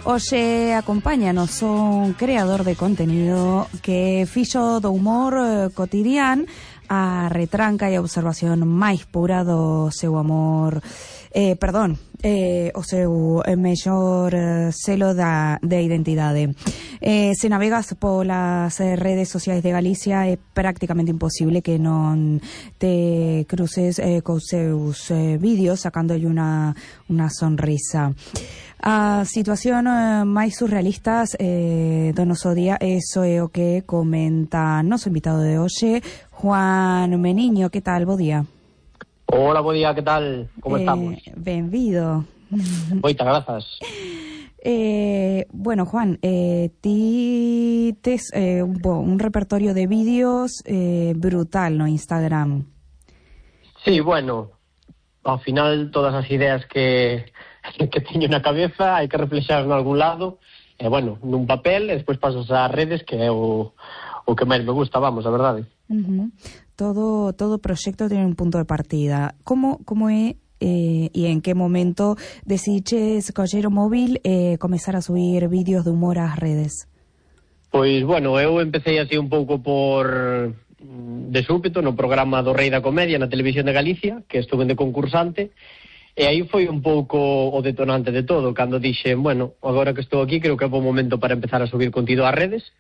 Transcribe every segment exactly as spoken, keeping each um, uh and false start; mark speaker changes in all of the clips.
Speaker 1: Hoxe acompáñanos un creador de contenido que fixo do humor eh, cotidián a retranca e a observación máis pura do seu amor, eh, perdón, eh, o seu mellor eh, selo da, de identidade. Eh, se navegas polas eh, redes sociais de Galicia é prácticamente imposible que non te cruces eh, cos seus eh, vídeos sacándolle unha, unha sonrisa. A situación eh, máis surrealistas eh, do noso día, eso é o que comenta noso invitado de hoxe, Juan Meniño. Que tal? Bo día.
Speaker 2: Hola, bo día, que tal? Como
Speaker 1: eh,
Speaker 2: estamos?
Speaker 1: Benvido.
Speaker 2: Moitas grazas.
Speaker 1: Eh, bueno, Juan, eh, ti tes eh, un, un repertorio de vídeos eh, brutal no Instagram.
Speaker 2: Sí, bueno, ao final todas as ideas que... que teño na cabeza, hai que reflexar en algún lado, e, bueno, nun papel, e despois pasas ás redes, que é o, o que máis me gusta, vamos, a verdade.
Speaker 1: Uh-huh. Todo todo proxecto ten un punto de partida. Como como é eh, e en que momento decidiches coller o móvil e eh, comezar a subir vídeos de humor ás redes?
Speaker 2: Pois, bueno, eu empecé así un pouco por... de súpeto, no programa do Rei da Comedia na Televisión de Galicia, que estuve de concursante. E aí foi un pouco o detonante de todo, cando dixen, bueno, agora que estou aquí, creo que é bo momento para empezar a subir contido ás redes,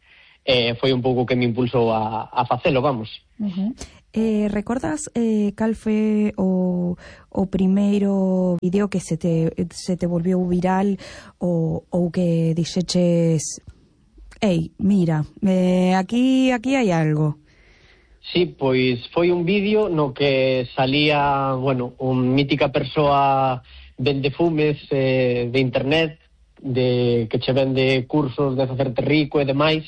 Speaker 2: e foi un pouco que me impulsou a, a facelo, vamos.
Speaker 1: Uh-huh. Eh, recordas eh, cal foi o, o primeiro vídeo que se te, se te volvió viral ou, ou que dixeches, ei, mira, eh, aquí, aquí hai algo?
Speaker 2: Sí, pois foi un vídeo no que salía, bueno, un mítica persoa vende fumes eh, de internet, de que che vende cursos de facerte rico e demais,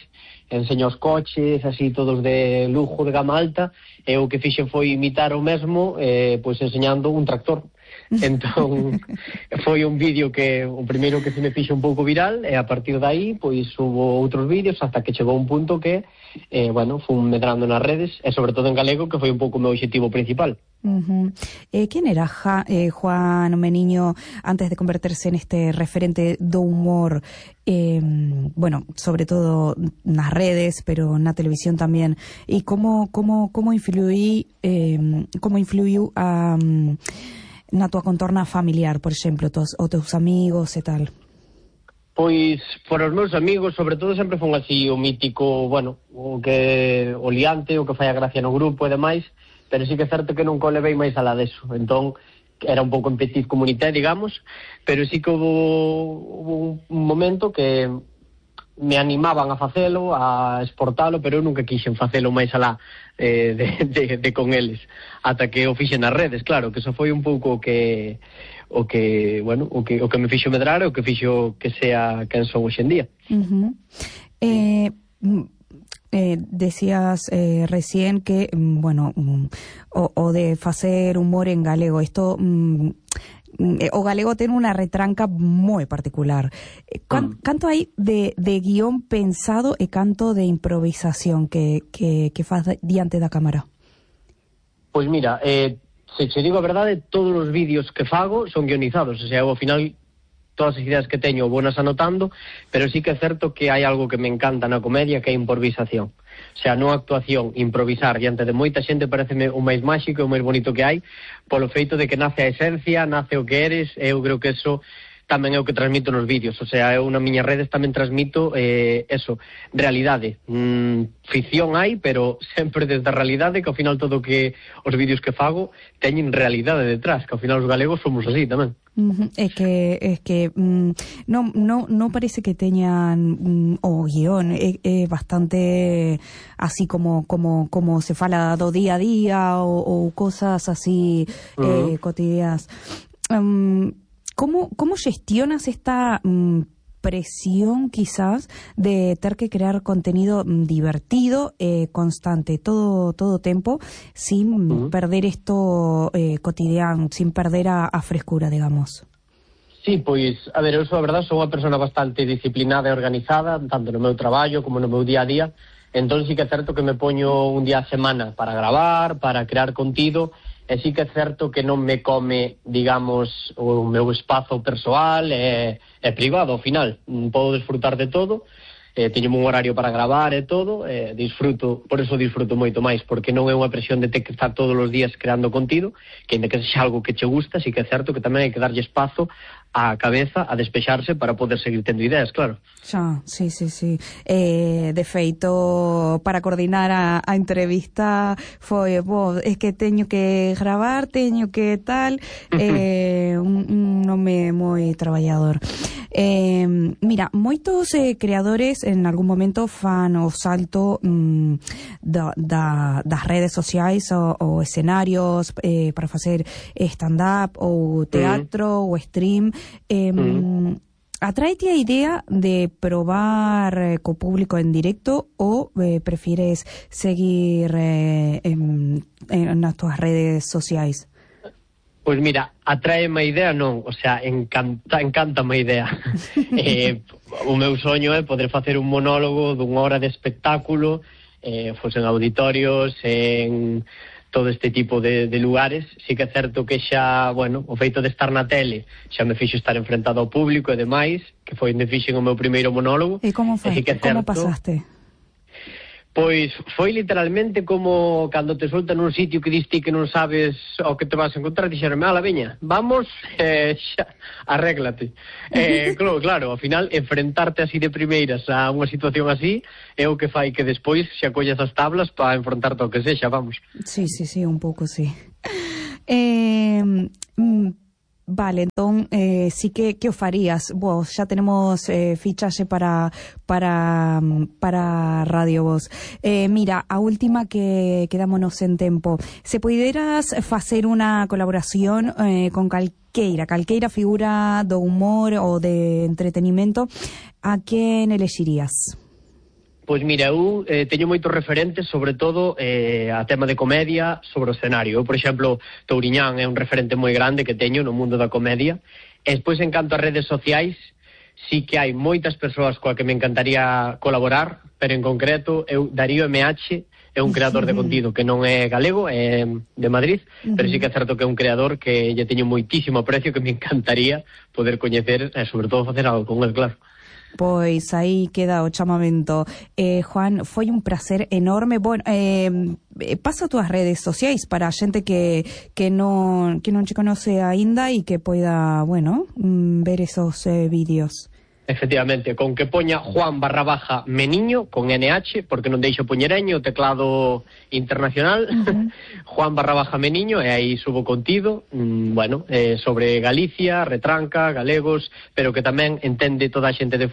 Speaker 2: enseña os coches, así todos de lujo, de gama alta, e o que fixen foi imitar o mesmo, eh, pois enseñando un tractor. Entón, foi un vídeo que o primeiro que se me fixo un pouco viral, e a partir de aí, pois hubo outros vídeos hasta que chegou un punto que eh, bueno, fun medrando nas redes, e sobre todo en galego, que foi un pouco o meu objetivo principal.
Speaker 1: Uh-huh. eh, Quen era ja, eh, Juan Meniño antes de converterse neste referente do humor, eh, bueno, sobre todo nas redes, pero na televisión tamén, e como como como influí eh, como influiu a um, na tua contorna familiar, por exemplo, tos, os teus amigos e tal?
Speaker 2: Pois, por os meus amigos, sobre todo, sempre fun así o mítico, bueno, o que o liante, o que fai a gracia no grupo e demais, pero sí que é certo que nunca o levei máis alá deso. Entón, era un pouco en petit comité, digamos, pero sí que houve, houve un momento que me animaban a facelo, a exportalo, pero eu nunca quixen facelo máis alá eh, de, de, de con eles, ata que o fixen nas redes, claro, que eso foi un pouco o que o que, bueno, o que o que me fixo medrar e o que fixo que sea quen son hoxe en día.
Speaker 1: Uh-huh. Eh, eh, decías eh, recién que, bueno, o, o de facer humor en galego, isto... Mm, o galego ten unha retranca moi particular. Can, canto hai de, de guión pensado e canto de improvisación que, que, que faz diante da cámara?
Speaker 2: Pois mira, eh, se che digo a verdade, todos os vídeos que fago son guionizados, o sea, ao final todas as ideas que teño bonas anotando, pero sí que é certo que hai algo que me encanta na comedia, que é a improvisación. O sea, non actuación, improvisar diante de moita xente pareceme o máis máxico e o máis bonito que hai, polo feito de que nace a esencia, nace o que eres, e eu creo que eso tamén é o que transmito nos vídeos. O sea, eu nas miñas redes tamén transmito eh, eso, realidade. Mm, ficción hai, pero sempre desde a realidade, que ao final todo que os vídeos que fago teñen realidade detrás, que ao final os galegos somos así tamén.
Speaker 1: Uh-huh. Es que es que mm, no no no parece que teñan mm, o guión, é, é bastante así como como como se fala do día a día ou, ou cosas así uh-huh. eh, cotidianas. Um, ¿Cómo, cómo gestionas esta mmm, presión quizás de ter que crear contenido mmm, divertido, eh, constante, todo todo tempo, sin uh-huh. perder esto eh, cotidiano, sin perder a, a frescura, digamos?
Speaker 2: Sí, pois, a ver, eu sou, a verdade, sou unha persona bastante disciplinada e organizada, tanto no meu traballo como no meu día a día, entón sí que é certo que me poño un día a semana para gravar, para crear contido, e sí que é certo que non me come, digamos, o meu espazo persoal e, e privado, ao final. Podo desfrutar de todo, eh, teño un horario para gravar e todo, eh, disfruto, por eso disfruto moito máis, porque non é unha presión de ter que estar todos os días creando contido, que ainda que sexa algo que che gusta, sí que é certo que tamén hai que darlle espazo á cabeza a despexarse para poder seguir tendo ideas, claro.
Speaker 1: Xa, sí, sí, sí. Eh, de feito, para coordinar a, a entrevista foi, bo, é que teño que gravar, teño que tal, eh, un, un nome moi traballador. Eh, mira, moitos eh, creadores en algún momento fan o salto mm, da, da, das redes sociais ou, ou escenarios eh, para facer stand-up ou teatro mm. ou stream. Eh, mm. Atraete a idea de probar eh, co público en directo ou eh, prefires seguir eh, en, en nas túas redes sociais?
Speaker 2: Pois mira, atraeme a idea non, o sea, encanta, encántame a idea. eh, o meu soño é poder facer un monólogo dunha hora de espectáculo, eh, fos en auditorios, en todo este tipo de, de lugares. Sí que é certo que xa, bueno, o feito de estar na tele xa me fixo estar enfrentado ao público e demais, que foi onde fixen o meu primeiro monólogo.
Speaker 1: E como foi?
Speaker 2: Sí que é
Speaker 1: como
Speaker 2: certo,
Speaker 1: pasaste?
Speaker 2: Pois foi literalmente como cando te soltan nun sitio que diste que non sabes ao que te vas a encontrar, dixeronme, ala, veña, vamos, eh, xa, arréglate. Eh, claro, claro, ao final, enfrentarte así de primeiras a unha situación así é o que fai que despois xa collas as tablas para enfrontarte ao que sexa, vamos.
Speaker 1: Sí, sí, sí, un pouco, sí. Eh... Mm, Vale, entón, eh, sí que, que o farías? Vos, xa tenemos eh, fichaxe para para para Radio Voz. Eh, mira, a última que quedámonos en tempo. Se puideras facer unha colaboración eh, con calqueira, calqueira figura do humor ou de entretenimento, a quen elexirías?
Speaker 2: Pois mira, eu eh, teño moitos referentes, sobre todo eh, a tema de comedia sobre o escenario. Eu, por exemplo, Touriñán é un referente moi grande que teño no mundo da comedia. E despois, en canto a redes sociais, sí que hai moitas persoas coa que me encantaría colaborar, pero en concreto, eu, Darío M H, é un creador de contido que non é galego, é de Madrid, uh-huh. pero sí que é certo que é un creador que lle teño moitísimo aprecio, que me encantaría poder coñecer e, sobre todo, facer algo con el, claro.
Speaker 1: Pois aí queda o chamamento. Eh, Juan, foi un placer enorme. Bueno, eh, pasa as túas redes sociais para a xente que que non que non te conoce aínda e que poida, bueno, ver esos eh, vídeos.
Speaker 2: Efectivamente, con que poña Juan barra baja Meniño, con N H, porque non deixo poñereño, o teclado internacional, uh-huh. Juan barra baja Meniño, e aí subo contido, mmm, bueno, eh, sobre Galicia, retranca, galegos, pero que tamén entende toda a xente de